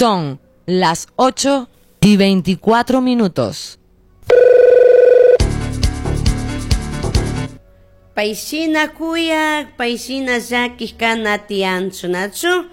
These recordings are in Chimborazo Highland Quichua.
Son las 8:24. Payshina kuyak, payshina llakiq kana tiyanchu, nachu?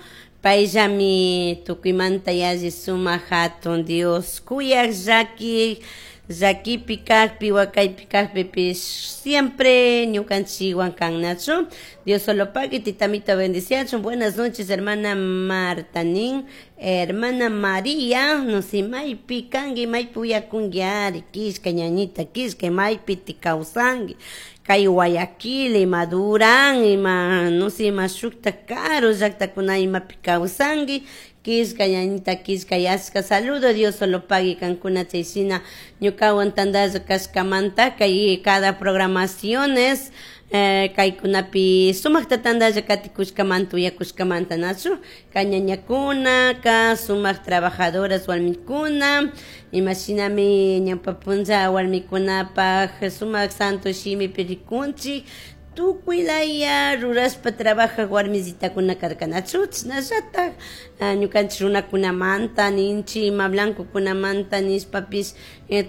Payllami tukuymanta yalli sumak hatun Dios, kuyak llakiq, llakipi kajpi, wakaypi kajpipish siempre ñukanchikwan kan, nachu? Dios solo pague, titamita bendiciachun. Buenas noches, hermana Marta nin, hermana María, no sé, maypi kanki, maypi uyakunki ari, kishka ñañita, kishka, maypi ti kawsanki, kay Guayaquil, ima Durán, ima, no sé, ima shukta karu llaktakuna imapi kawsanki, kishka ñañita, kishka yashka, saludo, Dios solo pague kankuna chayshina ñukawan tandalla kashkamanta, kay cada programaciones, kaykunapi sumakta tandalla katikushkamanta, uyakushkamanta, nachu? Kañañakuna, ka sumak trabajadoras warmikuna, imashinami ñawpa punlla warmikunapaj sumak santo shimipi rikunchik, tukuy laya rurashpa trabajaj warmisitakuna karka, nachu? Chashnallatak ñukanchik runakunamanta ninchik, ima blancokunamanta nishpapish,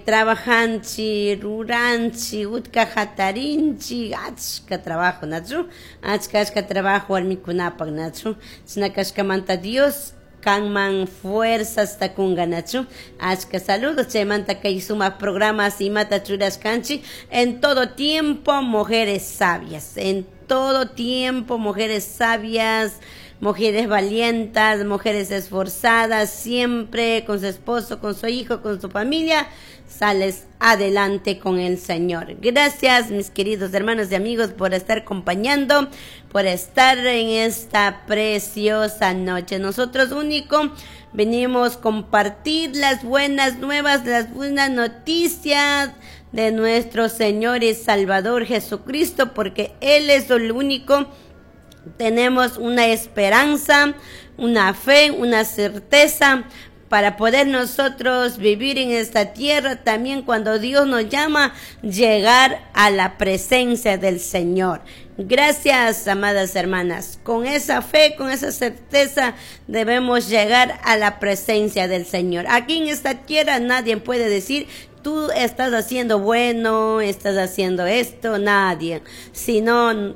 trabajanchik, ruranchik, utka hatarinchik, achka trabajo, nachu? Achka, achka trabajo warmikunapak, nachu? Chashna kashkamanta Dios kanman fuerzas takunga, nachu? Achka saludos, chaymanta kay sumak programas imata churashkanchik, en todo tiempo mujeres sabias, en todo tiempo mujeres sabias, mujeres valientas, mujeres esforzadas, siempre con su esposo, con su hijo, con su familia, sales adelante con el Señor. Gracias, mis queridos hermanos y amigos, por estar acompañando, por estar en esta preciosa noche. Nosotros único venimos a compartir las buenas nuevas, las buenas noticias de nuestro Señor y Salvador Jesucristo, porque Él es el único. Tenemos una esperanza, una fe, una certeza para poder nosotros vivir en esta tierra también cuando Dios nos llama, llegar a la presencia del Señor. Gracias, amadas hermanas. Con esa fe, con esa certeza, debemos llegar a la presencia del Señor. Aquí en esta tierra nadie puede decir, tú estás haciendo bueno, estás haciendo esto, nadie. Sino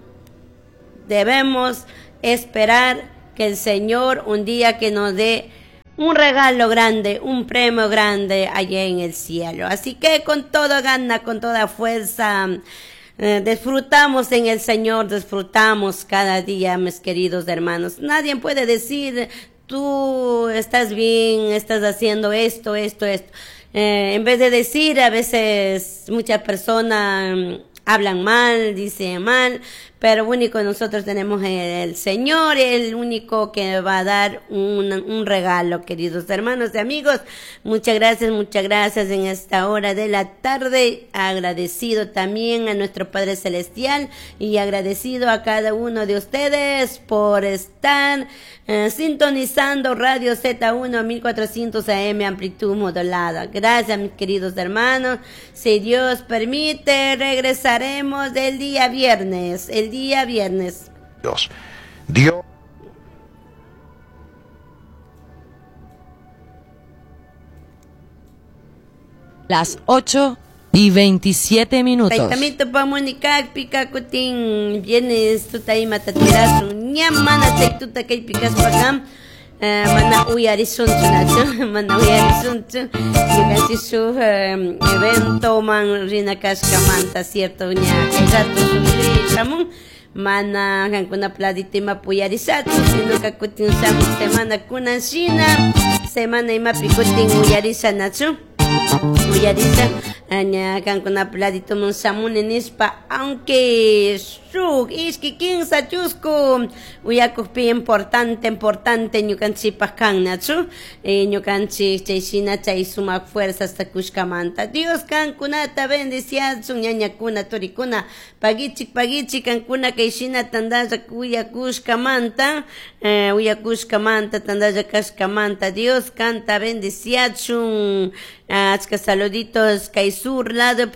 debemos esperar que el Señor un día que nos dé un regalo grande, un premio grande allá en el cielo. Así que con toda gana, con toda fuerza, disfrutamos en el Señor, disfrutamos cada día, mis queridos hermanos. Nadie puede decir, tú estás bien, estás haciendo esto, esto, esto. En vez de decir, a veces muchas personas hablan mal, dicen mal, pero único nosotros tenemos el Señor, el único que va a dar un regalo, queridos hermanos y amigos. Muchas gracias, muchas gracias en esta hora de la tarde. Agradecido también a nuestro Padre Celestial y agradecido a cada uno de ustedes por estar sintonizando Radio Z1 1400 AM amplitud modulada. Gracias, mis queridos hermanos. Si Dios permite, regresaremos el día viernes. El día viernes. Dios. Dios. Las 8:27. Taitamito pa Mónica, pica cutin, vienes tu taima tatirasu, ñamana chaituta kay picas pagam. Mana uyarisunchu, nachu, mana uyarisunchu. Ñukanchik shuk evento man rina kashkamanta, cierto, ña kay rato shuk shamun. Mana kankuna pladito ima puyarishachu, sino ka kutin shamun semana kunan shina, semana imapi kutin uyarisha, nachu. Uyarisha, ña kankuna pladito mun shamuni nishpa, aunque shuk ishki kinsa chusku uyakukpi importante, importante ñukanchikpak kan, nachu. Ñukanchik chay shina chay sumak fuerzas takushkamanta. Dios kankunata bendiciachun, ñañakuna, turikuna, pagichik, pagichik kankuna kay shina tandalla uyakushkamanta, uyakushkamanta, tandalla kashkamanta. Dios kanta bendiciachun. Achka saluditos kay sur lado.